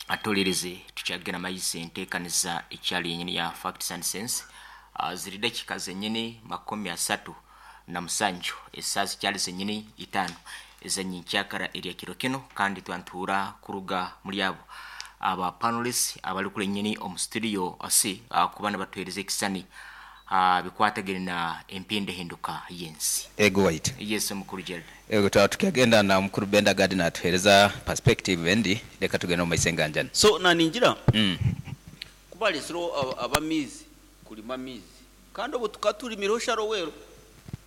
Atuhuririze tukyagenda maiso entekaniza ekyali yenyini ya Facts and Sense. Ziri dakika zenyini 37, esaaha zikyali zenyini 5 ez'enyenkyakara erya kiro kinu, kandi twantuura kuruga muri abo aba panelists abari kuri nyini omu studio C kuba nibatuhereza ekisani aha bikwatagine na empindahinduka y'ensi. Ego waitu. Yes mukuru Gerald. Ego twaba tukyagenda na mukuru Benda Gadi natuhereza perspective endi, leka tugende omu maiso enganjani. So naningira ku baresireho ab'amaizi kurima amaizi kandi obwo tukaba turimireho sharowero.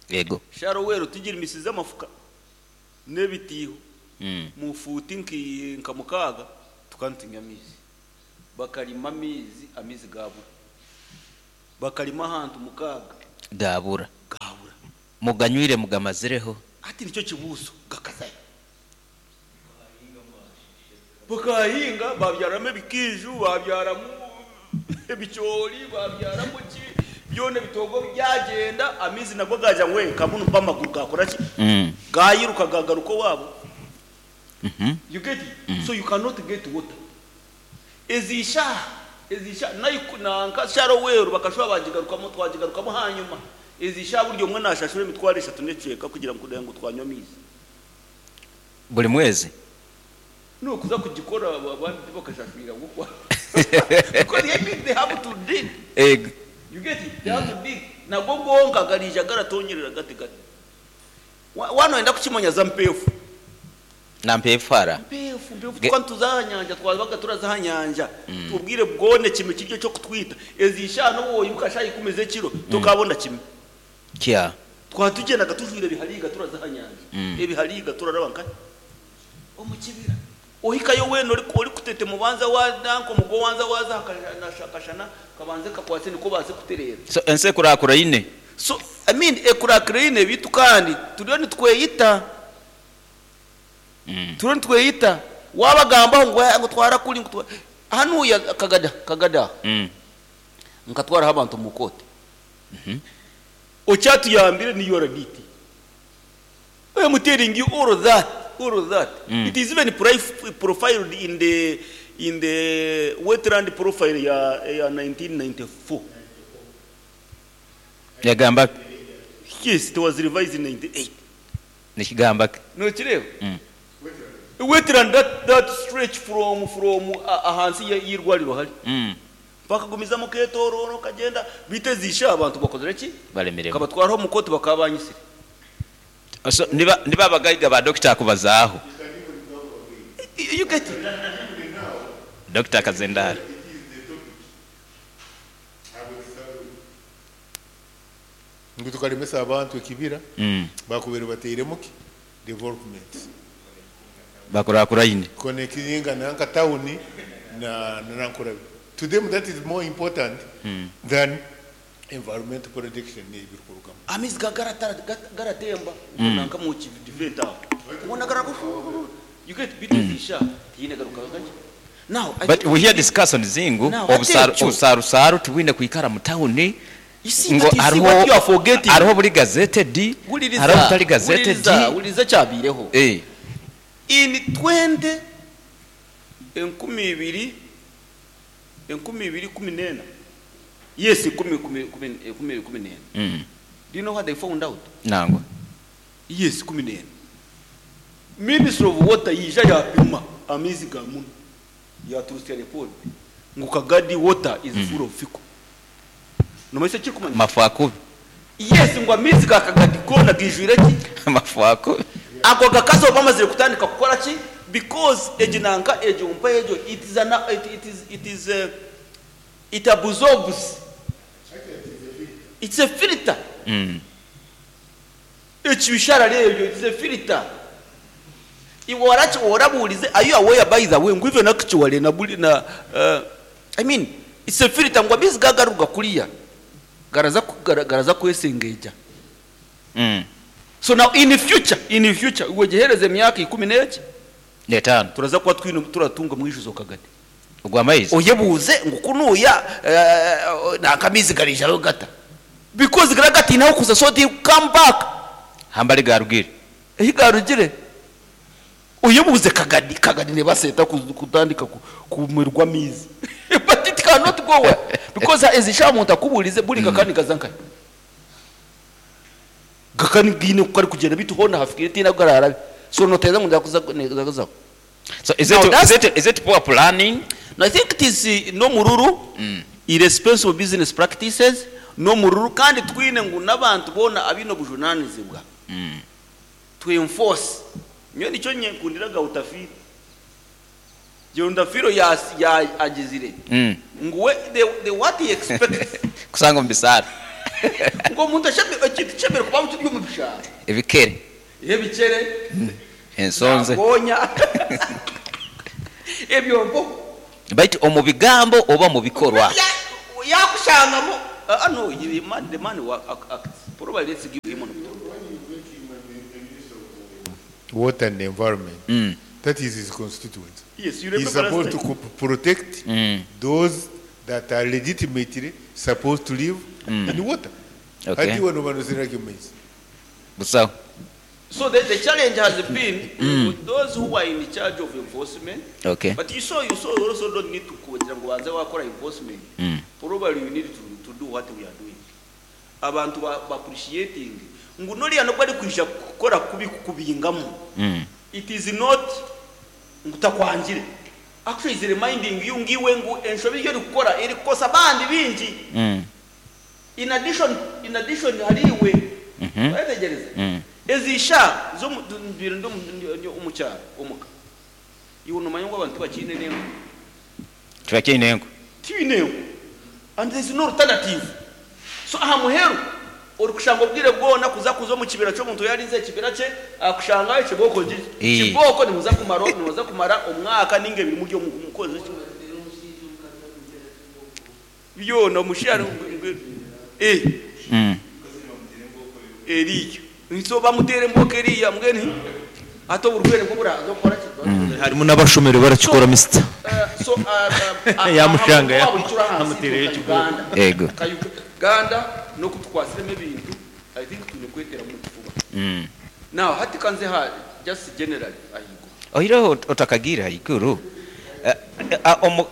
Ego. Sharowero tugirimisize amafuka n'ebitiiho mu fuuti nka mukaaga tukaba nitunywa amaizi. Bakarima amaizi, amaizi gaabura. Bakarima ahantu mukaaga. Gaabura. Gaabura. Muganywire mugamazireho? Hati nikyo kibuuzo, gakazayo? Bakahinga babyaramu ebikiiju, babyaramu ebicoori, babyaramu ki, byona ebitoogo byagyenda, amaizi nago gaagira ngu nka bunu mpa amaguru gaakora ki? Gaayiruka gaagaruka owaabo. You get it? So you cannot get water. Ezi shaaha, ezi shaaha, naiku nanka Sharowero bakashuba baagigarukamu, twagigarukamu hanyima. Ezi shaaha buri omwe naashashura emitwaro eshatu n'ekicweka kugira ngu kureeba ngu twanywa amaizi. Buri mwezi? N'okuza kugikora abandi tibakashashwire ahabw'okuba because I mean they have to dig. Ego. You get it? They have to dig. Nago gonka gariija garatonyerera gati gati. Waaba noyenda kukimanya za Mpeefu. Na Mpeefu hara? Mpeefu, Mpeefu tukaba nituza aha nyanja, twabaga turaza aha nyanja. Obwire bwona ekime kiri eky'okutwita. Ezi shaaha n'obu woimuka shaaha ikumi z'ekiro, tokaabona kime. Kya. Twaba tugyendaga tujwaire ebihariiga turaza aha nyanja. Ebihariiga turaraba nkahi? Omu kibira. Ohikayo weena orikutetema obanza wa nanka omugo owanza waaza aha kashana kabanze kakwatse nikwo obaase kutereera. So ensi ekurakuraine. So I mean ekurakuraine beitu kandi turiyo nitweyita. Turiyo nitweyita. Waabagambaho ngu ngu twara kuri ngu twara hanuuya Kagadi Kagadi aha nkatwaraho abantu omu kooti. Okyatuyambire ni URDT. I am telling you all that, all that. It is even profiled in the in the wetland profile ya ya 1994. Yagamba ki? Yes, it was revised in 98. Nikigamba ki? Nokireeba? Wetland that that stretch from from ahansi y'eirwariro hari. Bakagumizamu oketooroora okagyenda, beitu ezi shaaha abantu bakozire ki? Baremiremu. Nkabatwaraho omu kooti bakaba banyitsire. So niba nibo abagaiga ba Dokita akubazaaho. You get it? Dokita Kazendara. Ngu tukaremesa abantu ekibira, bakubaire batairemu ki? Development. Bakurakuraine. Connectinga nanka town na Nankulabye. To them that is more important than environmental protection n'ebirikurugamu. Amaizi ga garatemba nanka omu kivent aho. Hoona gararuga shuuh you get beitu ezi shaaha tihaine garuka gakye. Now I But think we hear discussions ngu Now hati ekyo. obusaarusaru tibwine kwikara mu tawuni You see ngu but you see hariho what you are forgetting. hariho oburi gazetted Huririza hariho obutari gazetted. huririza huririza ekyabaireho. Eh. In twente 2000 2014, yes 2014, do you know what they found out? Nangwa. Yes, 14. Ministry of Water yaija yaapima amaizi ga munu, yaaturutsya report ngu Kagadi water is full of fecal. Noomanya eki ekirikumanyisa? Mafu akubi. Yes, ngu amaizi ga Kagadi goona gaijwire ki? Mafu akubi. Ago gakazi obu bamazire kutandika kukora ki? Because egi nanka egyo mpa egyo it is an, it, it is, it is a, it absorbs. It's a filter. Ekibisharara ebyo it is a filter. Iwe oraki orabuurize are you aware by the way ngu even actually na buri na uh, I mean it's a filter ngu amaizi gagaruga kuriya garaza garaza kwesengeija. So now in future in future iwe gihereze emyaka ikumi n'eki N'etaano. turaza kuba twine turatunga omwijuzo kagadi. Ogw'amaizi? Oyebuuze ngu kunuuya nanka amaizi gariijayo gata? Because garaba gataine ah'okuza so they come back. Hambari gaarugire. Ahi gaarugire. Oyebuuze Kagadi, Kagadi neebaasa eta kutandika kumirwa amaizi? But it cannot go well because ezi shaaha omuntu akubuurize buri kakaba nikaza nkahi? Gakaba gaine oku karikugyenda beitu hoona hafikiire tihaine ahu karaarabe. So nooteereza ngu niza kuzaho. So is Now it, that's is it, is it poor planning? No, I think it is n'omururu, irresponsible business practices, n'omururu kandi twine ngu n'abantu boona abaine obujunaanizibwa to enforce. Nyowe nikyo nyenkundira Gautafiro. Geundafiro ya ya agizire ngu we the the what he expects Kusanga omu bisaaro. ngu omuntu asheme ekintu kishemereire kuba kiri omu bishaaro. Ebikere. Ebicere. Ensonze. Gonya. Ebyo mpo. Baitu omu bigambo oba mu bikorwa? Yakushangamu ah no the man the man wa acts probably let's give him an Water and environment. That is his constituency. Yes, you He's remember last supposed to time. protect those that are legitimately supposed to live in water. Okay. Hati wano bano sina kimaizi. Busaho. So the, the challenge has been with those who are in charge of enforcement. Okay. But you saw, you saw, you also don't need to kugira ngo banze wakora enforcement. Probably you need to, to do what we are doing. Abantu ba, ba appreciating ngu noriya nobwo ari kwija kukora kubi kukubingamu. It is not ngu takwangire. Actually is reminding you ngu iwe ngu enshobi ei orikukora erikukosa abandi baingi. In addition, in addition hari iwe. Wayetegyereza? Ezi shaaha z'omu mbaire ndi omu kyaro omuka. Iwe noomanya ngu abantu tibakiine n'enku? Tibakiine enku. Tibaine enku. And there is no alternative. So aha muheru orikushanga obwire bwona kuza kuza omu kibira ky'omuntu yarinze ekibira kye akushangayo kibooko gye. Kibooko nimuza kumara nimuza kumara omwaka ninga ebiri muri omu mukozi ki? Byona omushaija eh eriya. So bamuteera embooko eriya mbwenu hati oburwaire bwo buraza kukora ki? Harimu n'abashomire barakikora Mister. So Yamushanga ahabw'okuba buri kiro ahansi yamuteereyo nka ekibooko. Uganda. Ego. Nka Uganda n'oku tukwasiremu ebintu I think twine kweteramu omu kifuba. Now hati ka nze aha just generally ahaiguru. Oihireho otakagiire haiguru omu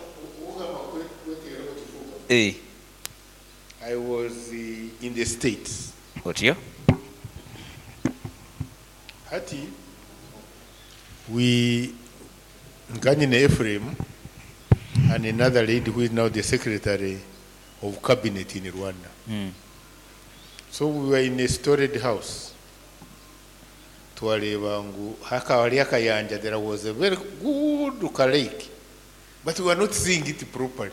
Eh. I was in the States. Otyo? Hati we nkanyine Ephraim and another lady who is now the secretary of cabinet in Rwanda. So we were in a storied house. Twareeba ngu hakaba hariyo akayanja, there was a very good lake, but we were not seeing it properly.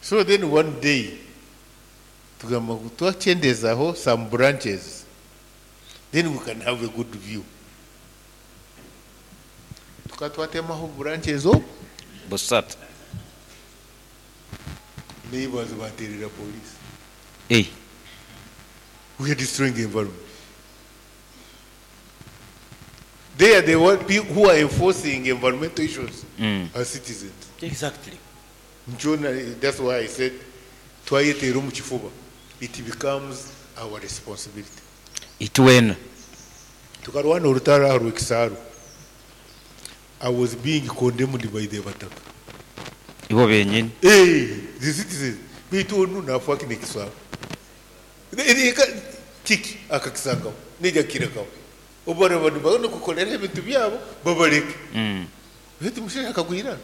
So then one day, tugamba ngu twakyendezaho some branches, then we can have a good view. Tukaba twatemaho branches obu. Busatu. Neighbors baterera police. Hey. We are destroying the environment. They are the one people who are enforcing environmental issues as citizens. Exactly. Jonah, that's why I said, twayeteera omu kifuba. It becomes our responsibility. Itwena. Tukarwana orutaro aha rw'ekisaaru. I was being condemned by the Bataka. Ibo benyini. Hey, the citizens. Baitu onu nafa kine kisaaru. Kiki akakisangaho neija kukirekaho. Obu baraba nibabona kukorera ebintu byabo babareke. Baitu omushaija akagwirana.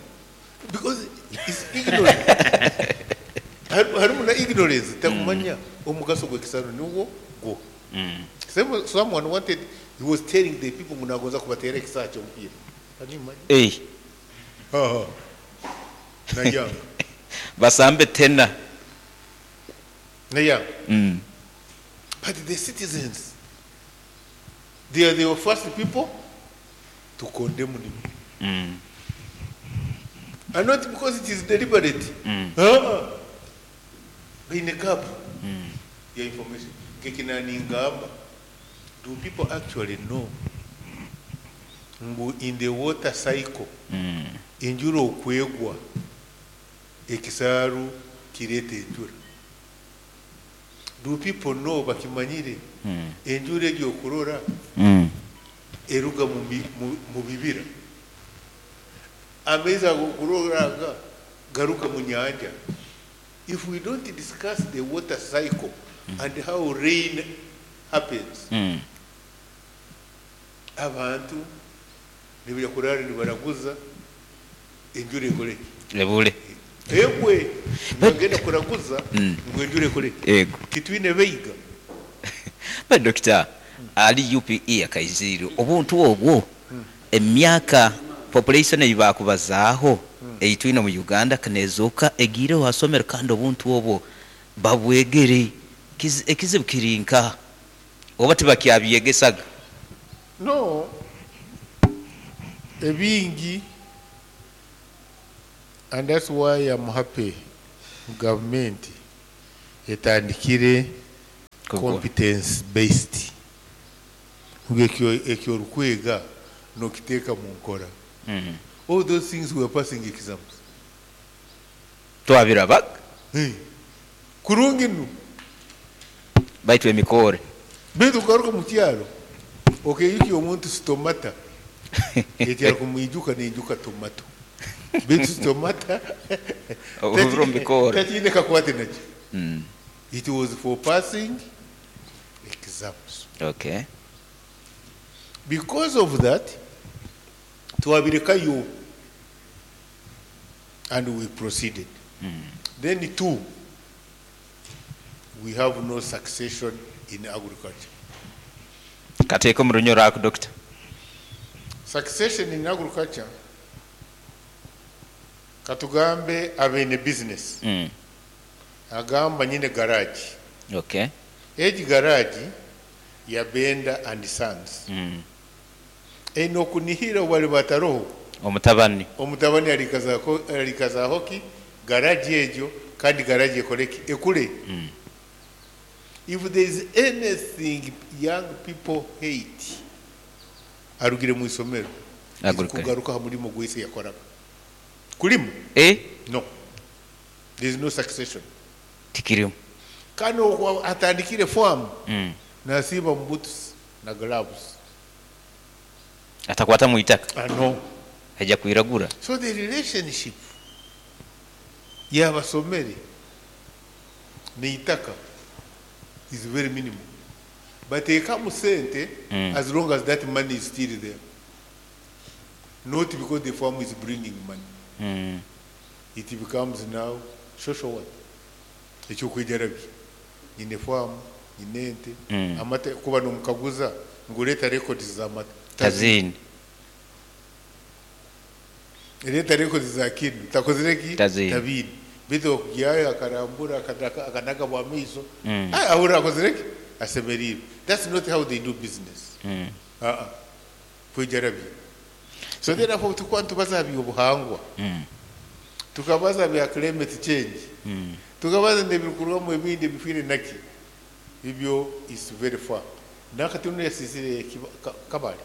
Because it's ignorance. Harimu na ignorance takumanya omugaso gw'ekisaaru nigwo gwo. Someone wanted, he was telling the people ngu nagonza kubateera ekisaaha ky'omupiira. Can you imagine? Hey. Ha, ha. Nayanga. Basambe tena. Nayanga. But the citizens, they are the first people to condemn him. And not because it is deliberate. In a gap. Ya information. Kekinaningamba. Do people actually know? Ngu in the water cycle, enjura okwegwa, ekisaaru kireeta enjura. Do people know bakimanyire enjura egyo okurora Eruga mu bibira. Amaizi ago kuroranga garuka mu nyanja. If we don't discuss the water cycle and how rain happens, abantu nibija kurara nibaraguza enjura ekore ki? Ebure. Egwe nibagenda kuraguza ngu enjura ekore ki? Ego. Titwine beiga. But Doctor, ali UPE akaizire obuntu obwo emyaka population ei bakubazaaho ei twine omu Uganda kaneezooka egiireho ha somero kandi obuntu obwo babwegere. Ekizibu kiri nkaha? Oba tibakyabyegesaga? No, ebingi, and that's why I'm happy government etandikire competence based. Ngu ekyo orikwega nokiteeka mu nkora. All those things were passing exams. Twabirabaga. Hey. Kurungi nu. Baitu emikore. Baitu kugaruka mu kyaro, okeyuki omuntu stomata. Ekyaro kumwijuka neijuka tomato. Baitu stomata. Obuvura omu bikore. Takiine kakwate nakyo. It was for passing exams. Because of that, twabirekayo and we proceeded. Then two, we have no succession in agriculture. Kateeka omu runyoro ako, Doctor. Succession in agriculture, katugambe abeine business. Agamba nyine garage. Egi garage ya Benda and Sons. Eno kunihira wali bataroho. Omutabani. Omutabani alikazaho ki garage ejo kandi garage ekoleki ekule. If there is anything young people hate, arugire mu isomero. Agriculture. Kugaruka ha mulimo gwese yakoraga. Kulimu? No. There is no succession. Tikirimu. Kano atandikire farm. Nasiba mu boots na gloves. Atakwata mu itaka. No. Ajja kwiragura. So the relationship y'abasomere n'itaka is very minimal. Bateekamu sente as long as that money is still there. Not because the farm is bringing money. It becomes now social work. Ekyokwejarabya. Nyine farm, nyine ente, amata kuba nomukaguza ngu leeta records z'amata. Tazini. Leeta records za kinu. Takozire ki? Tazini. Tabini. Bitu okugyayo akarambura akanaga bwa maiso. Ahura akozire ki? Asemerire. That's not how they do business. Kwejarabya. So therefore tukwa ntubaza byobuhangwa. Tukabaza bya climate change. Tukabaza nebikurwamu ebindi bifire naki. Ibyo is very far. Nakati uno yasisire Kabale.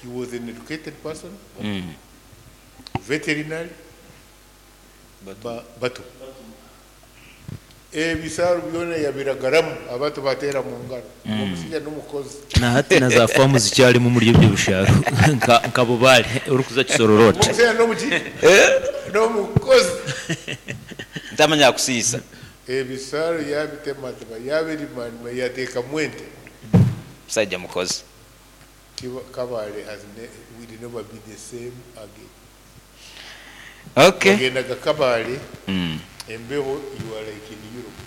He was an educated person. Veterinary. Batu. Ebisaaru byona yabiragaramu abantu batera mu ngaro. Omusajja n'omukozi. Na hati na za famu zikyalimu muri ibyo bisharo. Nka Bubale uri kuza Kisororoti. Omusajja n'omuki? N'omukozi. Ntamanya kusiisa. Ebisaaru yabitematema, yabirimanima, yateeka mwente. Musajja mukozi. Kabale has will never be the same again. Bagendaga Kabale. Embeho you are like in Europe.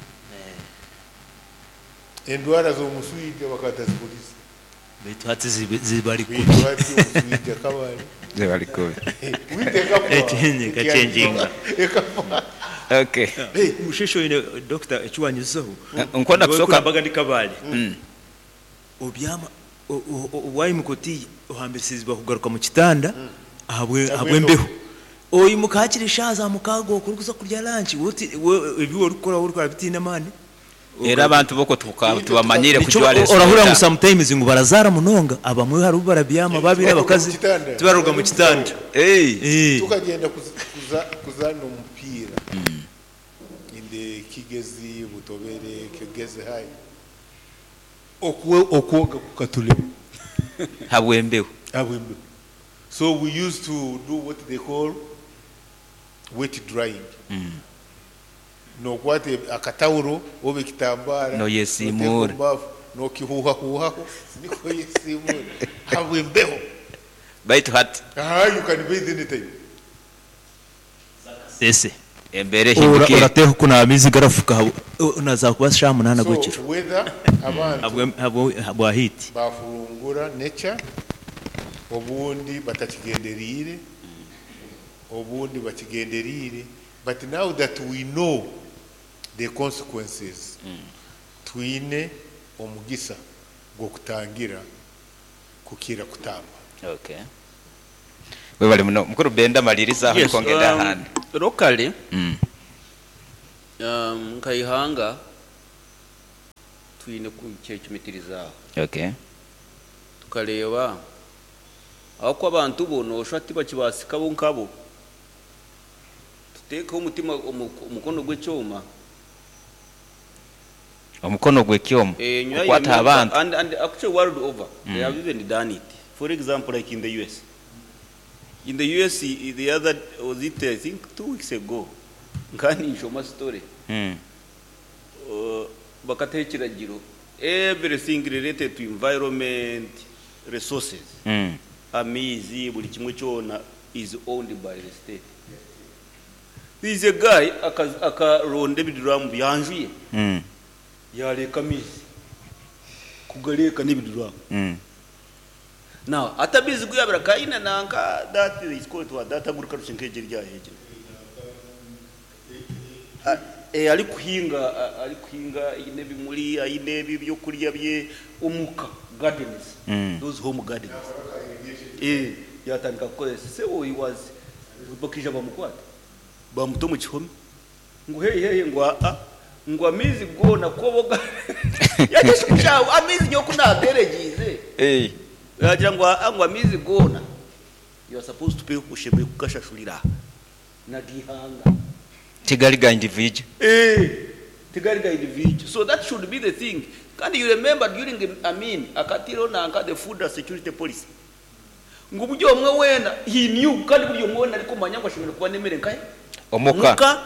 Endwara z'omuswija bakatazikuliza. Baitu hati zibari kubi. Baitu hati omuswija Kabale. Zibari kubi. Witeka kwa. Echenye kachenjinga. Ekafa. Okay. Hey, mushesho ine doctor ekiwanyizaho. Nkonda kusoka. Mbaga ndi Kabale. Obyama wayimukoti ohambisizibwa kugaruka mu kitanda ahabwe mbeho. Oyi mukakire shaza mukago okurukuza kurya lunch uti ebi orikora orikora bitina mani. Era abantu boko tubamanyire kujwara Orahura ngu sometimes ngu barazara munonga abamwe hari barabyama babiri abakazi tibaruga mu kitanda. Tukagenda kuzana umupira. In the Kigezi Butobere Kigezi High. Okwoga kukatulema. Habw'embeho. Habw'embeho. So we used to do what they call wet drying. Nokwata akatawuro oba ekitambaara Noyesiimuura. noteeka omu baafu nokihuuhahuuhaho nikwo oyesiimuura ahabw'embeho. Baitu hati. Aha you can bathe anytime. Sese. Embeera ehindukire. Orateekwa kunaaba amaizi garafuka naza kuba shaaha munaana So gw'ekiro weather abantu ahabwa heat. bafurungura nature obundi batakigendereire obundi bakigendereire but now that we know the consequences twine omugisa gw'okutangira kukira kutamba. Okay. Webale muno mukuru Benda maliriza aho Yes, niko ngenda ahandi. locally nka ihanga twine kukyecumitirizaaho. Okay. Tukareeba ahakuba abantu bo nooshusha tibakibaasika bo nkabo. Tuteekeho omutima omukono gw'ekyoma. Omukono gw'ekyoma Eh, nyuma kukwata y'emyaka- abantu. And actually world over, they have even done it. For example, like in the US. In the US, the other, was it, I think, 2 weeks ago, nkani nshoma story. Bakataho ekiragiro, everything related to environment, resources, amaizi, buri kimwe kyona is owned by the state. There is a guy akaronda ebiduramu byanjuye, yareka amaizi, kugareka n'ebiduramu. Now, atabizi guyabira kaina nanka, that is called what, that agriculture nk'egi ryahegira. Ari kuhinga, ari kuhinga aine ebimuri, aine ebi ebyokurya bye omuka gardens. Those home gardens. Yatandika kukozesa. Sebo he was bakija bamukwata. Bamuta omu kihome. Ngu hey hey ngu a a ngu amaizi goona koboga. Yagesha omushaho amaizi nyowe ku naateregiize. Yagira ngu a ngu amaizi goona. You are supposed to pay oshemereire kugashashurira. Nagihanga. Tigari ga individual. Tigari ga individual. So that should be the thing. Kandi you remember during Amin, akatiro nanka the food security policy. Ngu buri omwe weena, he knew, kandi buri omwe weena arikumanya ngu ashemereire kuba n'emere nkahe? Omuka. Omuka.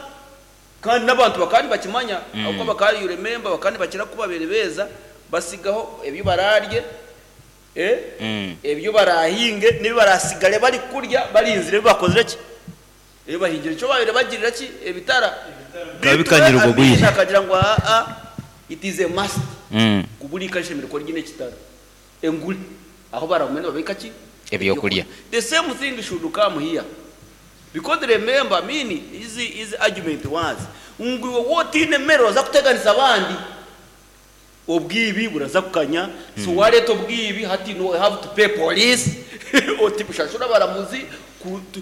Kandi n'abantu bakaba nibakimanya, ahabw'okuba bakaba, you remember, bakaba nibakira kuba babaire beeza, basigaho ebi baraarye, ebyo barahinge, n'ebi barasigare bari kurya, barinzire ebi bakozire ki? Ebi bahingire. Ekyo babaire bagirira ki? Ebitara. Bikaba bikanyire obwo bwire. Amin akagira ngu aa, it is a must. Kuburi kashemereire kuba ryine ekitara. Enguri. Aho baramwenda babika ki? Ebyokurya. The same thing should come here. Because remember, Amin, his argument was, ngu iwe wotiine mere oza kuteganisa abandi. Obwibi buraza kukanya. So wareta obwibi, hati no have to pay police. Oti bushashura abaramuzi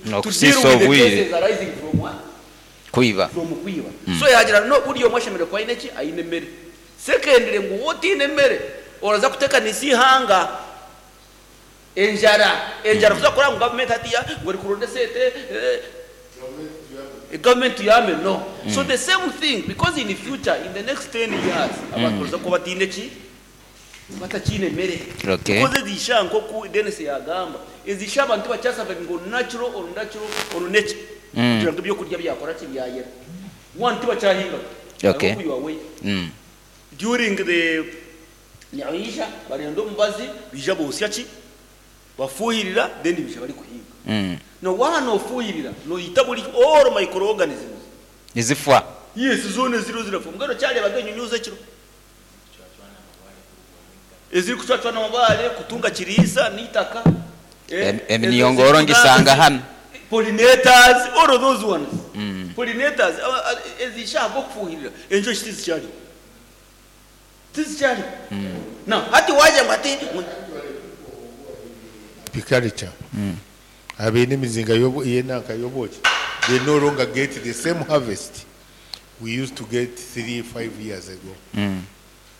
No, to kusisa deal with the obwire. cases arising from what? Kwiba. From kwiba. So yagira no buri omwe ashemereire kuba aine ki? Aine mere. Secondly, ngu wotiine mere oraza kutekanisa ihanga. Enjara, enjara kuza kora ngu government hatiya ngo eri kuronda sente, government yame no. So the same thing, because in the future, in the next 10 years, abantu baza kuba batiine ki? Batakiine mere. Because ezisha nkoku Dennis yagamba, ezisha abantu bakyasaba ngo natural or natural or nature. Kugira ngu ebyokurya byakora ki byayera. One tibakyahinga. I hope you are aware. During the Nyaisha, barenda omubazi, bija bosya ki? Bafuhirira, then bija bari kuhinga. No wana ofuhirira, no yita buri all microorganisms. Nizifwa. Yes, zone zero zero. Mugano kyalebaga enyunyuza ekiro. Eziri kucwacwana amabare, kutunga kiriisa n'itaka. Emiyongoro ngisanga hano. Pollinators, all of those ones. Pollinators, ezishaka okufuhirira. Enjoki tizikyariho. Tizikyariho. Now, hati waje ngo ati Apiculture. Abeine emizinga yenanka y'obwoki. They no longer get the same harvest we used to get 3-5 years ago.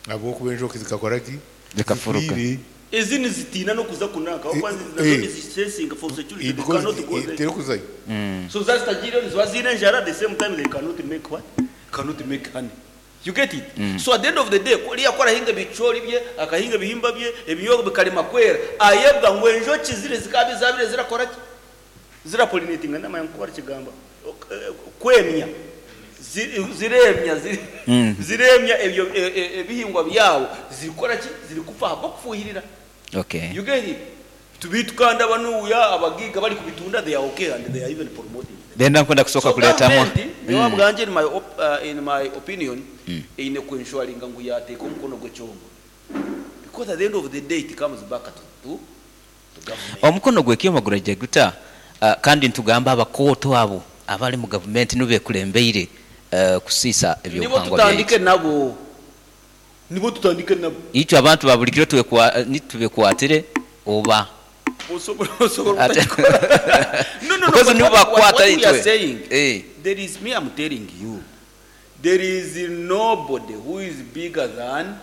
Ahabw'okuba enjoki zikakora ki? Zikafuruka. Zifiire. Ezi nizitiina n'okuza kunanka. Ahabw'okuba nazo nizishesinga for security. They Because cannot go there. terikuzayo. So zazitagiire niziba ziine enjara, the same time they cannot make what? Cannot make honey. You get it? So at the end of the day, oriya ku arahinga ebicoori bye, akahinga ebihimba bye, ebinyobwa bikarema kwera, ayebwa ngu enjoki ziri zikaba zabire zirakora ki? Zirapolinatinga ndamanya nku barikigamba. Kwemya. Ziremya, ziremya ebyo ebihingwa byabo, zirikukora ki? Zirikufa ahabw'okufuhirira. Okay. You get it? Beitu kandi abanuuya abagiiga barikubitunda they are okay and they are even promoting them. Then nakwenda kusooka So kureetamu. government nyowe ahabwangye in my op, in my opinion eine ku ensuringa ngu yateeka omukono gw'ekyoma because at the end of the day it comes back to, to, to government. Omukono gw'ekyoma guraija guta? Kandi nitugamba abakooto abo abari mu gavumenti nibo bekulembeire kusiisa Nibo ebyobuhangwa tutandike byaitu. nabo. Nibo tutandike nabo. Itwe abantu ba buli kiro nitubekwatire oba? Osobola osobola obutakikora. No, no, no, Because but nibo what, what, bakukwata what we are itwe. saying, Eh. there is me, I'm telling you, there is nobody who is bigger than